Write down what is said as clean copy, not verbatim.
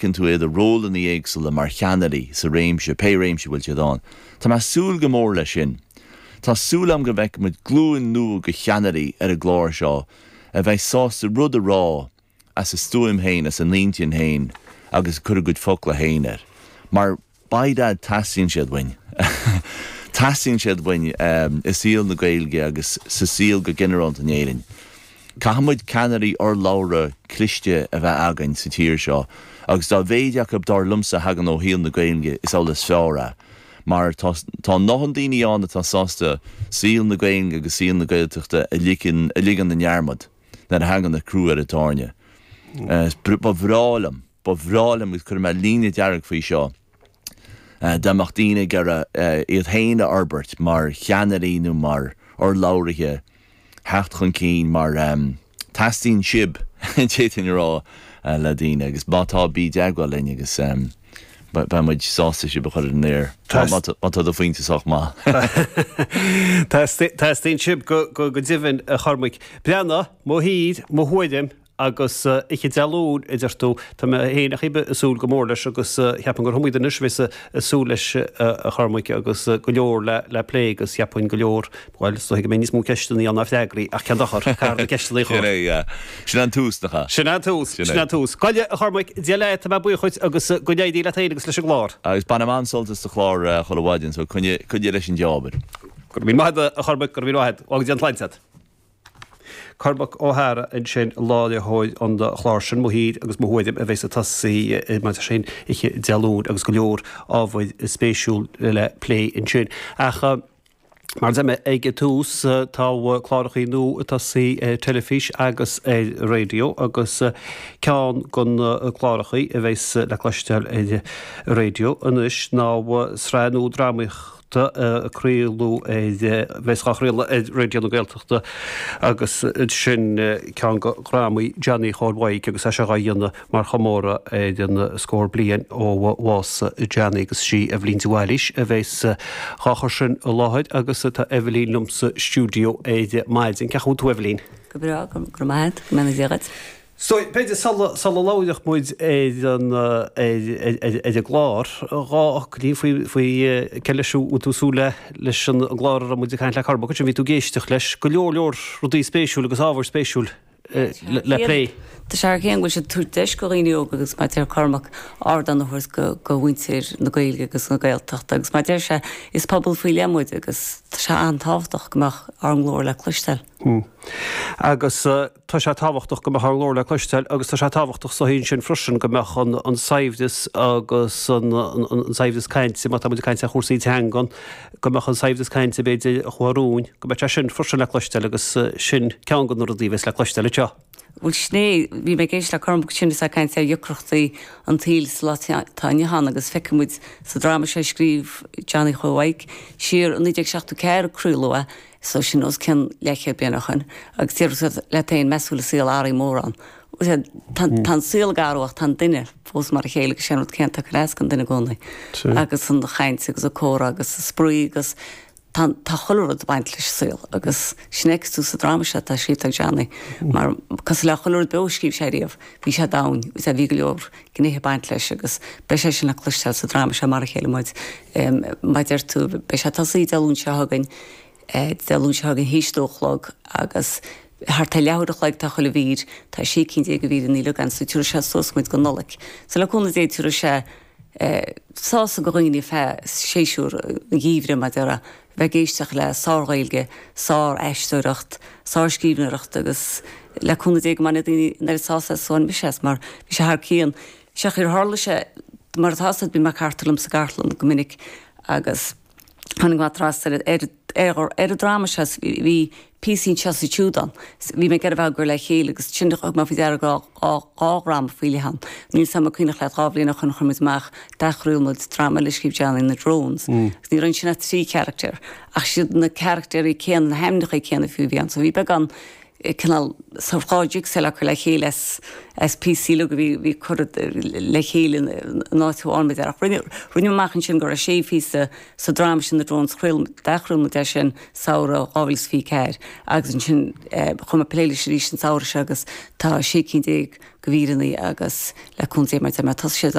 Feiceann tú iad i rólanna éagsúla mar cheannairí sa réimse, pé réimse a bhfuil siad ann. Tá mé ag súil go mór leis sin. Tá súil agam go bhfeicfidh muid glúin nua de cheannairí ar an gclár seo a bheidh sásta rud a rá as a stuaim féin, as a n-intinn féin agus ag cur a gcuid focla féin air. Mar By dad teastaíonn siad uainn. Teastaíonn siad uainn i saol na Gaeilge agus sa saol go ginearálta in Éirinn. Caithfidh muid ceannairí urlabhra cliste a bheith againn sa tír seo agus dá mhéid acu dar liomsa a thagann ó shaol na Gaeilge is amhlaidh is fearr é. Mar tá tá a ndóthain daoine ann atá sásta saol na Gaeilge agus saol na Gaeltachta a ligean a ligean i ndearmad nuair a thagann an crú ar an tairne. Ba bhreá liom. Ba bhreá liom, agus cuirfidh mé líne dearg faoi seo, dá mbeadh daoine ag iarraidh iad féin a fhorbairt mar cheannairí nó mar urlabhraithe, theacht chun cinn mar teastaíonn sibh, d'fhéadfainn a rá le daoine, agus má tá, bí i dteagmháil linn agus beidh muid sásta sibh a chur ar an aer, má tá do phointe sách maith. Teastaíonn sibh go deimhin, a Chormaic. Breathnaigh, mo thír, mo thuairim, Agus oíche Dé Luain, a deir tú, tá mé féin ach ag súil go mór leis agus cheapfainn gur iomaí duine anois a bheas ag súil leis a Chormaic agus go leor le plé agus cheapfainn go leor, bhuel, is dóigh go mbeidh níos mó ceisteanna ann ná freagraí ach cén dochar, caithfear na ceisteanna a chur. Sin é, yeah. Sin an tús, nach ea? Sin an tús, sin an tús. Gabh i leith, a Chormaic, Dia leat, tá mé buíoch dhuit agus go n-éirí leat féin agus leis an gclár. Agus bainim an-sult as do chlár chuile mhaidin, so coinnigh, coinnigh leis an dea-obair. Go raibh míle maith agat, a Chormaic, go raibh míle maith agat. Go dté an tsláinte leat. Cormac Ó hEadhra ansin, láithreoir an chláir sin, Mo Thír agus Mo Thuairim, a bheas ag tosaí mar sin oíche Dé Luain agus go leor ábhair spéisiúil le plé ansin. Ach mar a deir mé ag an tús, tá clárachaí nua ag tosaí ar teilifís agus ar raidió agus ceann de na clárachaí a bheas le cloisteáil ar raidió anois ná sraith nua drámaíochta, a craoladh ar, bheas á chraoladh ar Raidió na Gaeltachta agus sin ceann de dhrámaí Johnny Chóil Mhaidhc agus é seo á dhéanamh mar chomóradh ar an scór bliain ó bhás Johnny agus sí Eibhlín de Bhailís a bheas dhá chur sin i láthair agus tá Eibhlín liom sa stiúideo ar maidin. Cén chaoi a bhfuil tú Eibhlín? Go breá, go raibh maith agat, go mbeannaí Dia dhuit. So, b'fhéidir sula, sula labhródh muid ar an, ar, ar, ar an gclár, dhá fhocailín faoi, faoi cé leis a bhfuil tú ag súil le, leis an gclár a raibh muid ag caint le Cormac ansin, bhí tú ag éisteacht leis, go leor leor rudaí spéisiúil agus ábhair spéisiúil le plé. Tá sé thar cionn go bhfuil siad ag tabhairt deis go dhaoine óga agus mar a deir Cormac, ardán a thabhairt go, go mhuintir na Gaeilge agus na Gaeltachta agus mar a deir sé, is pobal faoi leith muid agus tá sé an-tábhachtach go mbeadh ár nglór le cloisteáil. Agus. Tá sé tábhachtach go mbeadh ár nglór le cloisteáil agus tá sé tábhachtach sa tslí sin freisin go mbeadh an saibhreas agus an saibhreas cainte, má tá muid ag caint ar chúrsaí teangan, go mbeadh an saibhreas cainte b'fhéidir a chuaigh romhainn, go mbeadh sé sin freisin le cloisteáil agus sin ceann de na rudaí a bheas le cloisteáil anseo. Bhuel sin é, bhí mé ag éisteacht le Cormac ansin is é ag caint ar dheacrachtaí an tsaoil sa lá atá inniu ann agus feicfidh muid sa dráma seo a scríobh Johnny Chóil Mhaidhc siar i 1974 a craoladh é, So sin os cionn leathchéad bliain ó shoin agus déarfá leat féin meas tú an bhfuil an saol athraithe mórán. Tá an saol ag athrú ach tá an duine fós mar a chéile agus sé an rud céanna atá ag cur as don duine i gcónaí. Agus an chaint agus an comhrá agus an spraoi agus tá tá chuile rud ag baint leis an saol agus sin a fheicfeas tú sa dráma seo atá scríofa ag Johnny mar cosúil le chuile rud beo a scríobh sé riamh bhí sé domhain agus bhí go leor gnéithe ag baint leis agus beidh sé sin le cloisteáil sa dráma seo Mar a Chéile Muid. Mar a deir tú beidh sé ag tosaí Dé Luain seo chugainn Dé Luain seo chugainn théis a dó a chlog agus thart ar leathuair a chloig atá chuile mhír, tá 16 cinn de mhíreanna uilig ann so tabharfaidh sé suas muid go Nollaig. So le cúnamh Dé tabharfaidh sé sásamh go dhaoine feadh séasúr an gheimhridh mar a déarfá, bheith ag éisteacht le sár-Ghaeilge, sár-aisteoireacht, sár-scríbhneoireacht agus le cúnamh Dé go mbainfidh daoine an oiread sásamh as is a bhain mise as mar bhí sé thar cionn. Sé ar tharla sé mar atá fhios agat bíonn mé ag cartadh liom sa gcartlann go minic agus tháinig mé trasna ar ar ar an dráma seo bhí píosaí anseo is ansiúd ann. Bhí mé ag iarraidh a bheith á gcur le chéile agus ansin thug mé faoi deara go raibh dhá dhráma faoi leith ann. Níl 's a'm an cuimhneach leat dhá bhliain ó shoin chuir muid amach, d'athchraol muid dráma eile a scríobh Johnny, na Drones. Agus ní raibh ansin ach 3 character ach siad na caractéirí céanna, na hainmneacha céanna fiú a bhí ann. So bhí beagán. Cineál sórt 2 jigsaw le cur le chéile as as píosaí uilig a bhí bhí curtha le chéile in áit amháin b'fhéidir. Ach rinne rinne amach ansin go raibh sé phíosa sa dráma sin The Drones chraol d'athchraol muid é sin samhradh 2024 agus ansin chuaigh mé ag plé leis arís an samhradh seo agus tá 16 cinn de mhíreanna agus le cúnamh Dé mar a deir mé tosóidh sé.